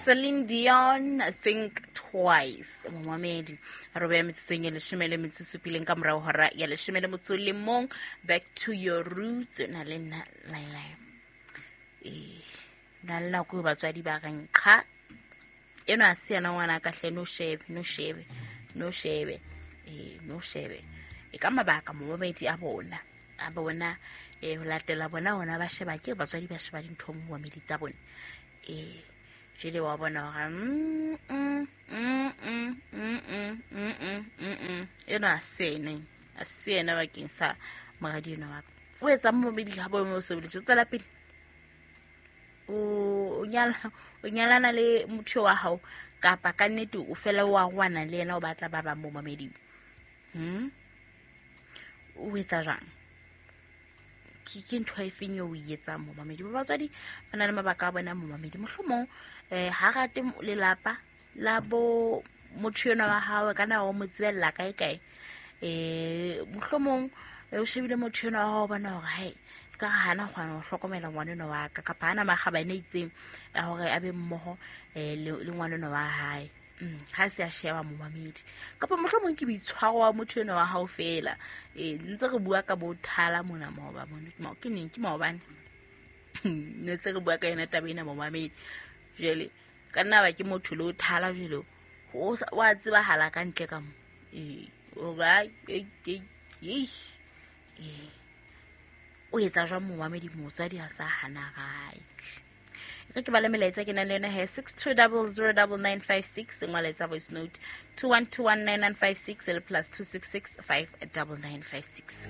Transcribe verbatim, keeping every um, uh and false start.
Celine Dion, Think Twice. Momamedi re beya metsotsong ya leshome le metso e supileng ka morao hora ya leshome le motso le mong. Back to your roots na le nna Laila. Eh, na le nako eo batswadi ba reng qha eno a se yena ngwana ka hle, no shebe, no shebe, no shebe, eh, no shebe. E ka mabaka momamedi a bona, a bona eh ho latela bona hona ba sheba ke batswadi ba sheba dintho momamedi tsa bona. Eh, jwale wa bona hore mm, mm, mm, mm, mm, mm, mm, mm, mm, mm. Eno a se ene, a se ena bakeng sa moradi enwa wa ka. O etsa momamedi ha bo mo sebeletse, o tswela pele. O nyala, o nyalana le motho wa hao kapa ka nnete o fela wa rwana le yena o batla ba bang momamedi. Hmm? O etsa jwang? Ke, ke ntho e feng eo o e etsang momamedi? Ba batswadi ba na le mabaka a bona momamedi. Mohlomong eh ha rate lelapa la bo motho enwa wa hao, ka na o mo tsebella kae kae. Eh, mohlomong o shebile motho enwa wa hao, o bona hore hai ka hana kgona ho hlokomela ngwana enwa wa ka, kapa hana makgabane a itseng a hore a be mmoho eh le, le ngwana enwa wa hae. Mm, ha se a sheba momamedi. Kapa mohlomong ke boitshwaro wa motho enwa wa hao fela. Eh, ntse re bua ka bo thala mona maoba mona. Ke mao-, ke neng? Ke maobane. Ne ntse re bua ka yona taba ena momamedi. Jwale ka nna ba ke motho le o thala jwale, o sa-, wa tsebahala ka ntle ka mo. Eh, o ba, eh, eh, eish. Eh. O etsa jwang momamedi? Motswadi ha sa hana right. Re ke bale melaetsa ke nang le yona he, six two double zero double nine five six, ngwala etsa voice note two one two one nine nine five six le plus two six six five double nine five six.